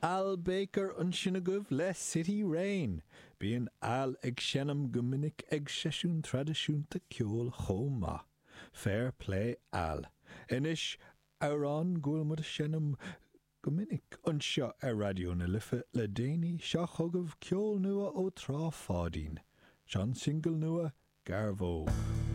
Al Baker ansin agaibh le City Rain. Bíonn Al ag seinm go minic ag seisiúin traidisiúnta ceoil chomh maith. Fair play Al. Anois, amhrán go bhfuil muid a seinm go minic anseo ar Raidió na Life le déanaí, seo chugaibh ceol nua ó Trá Pháidín. Seo an singil nua, Garvóg.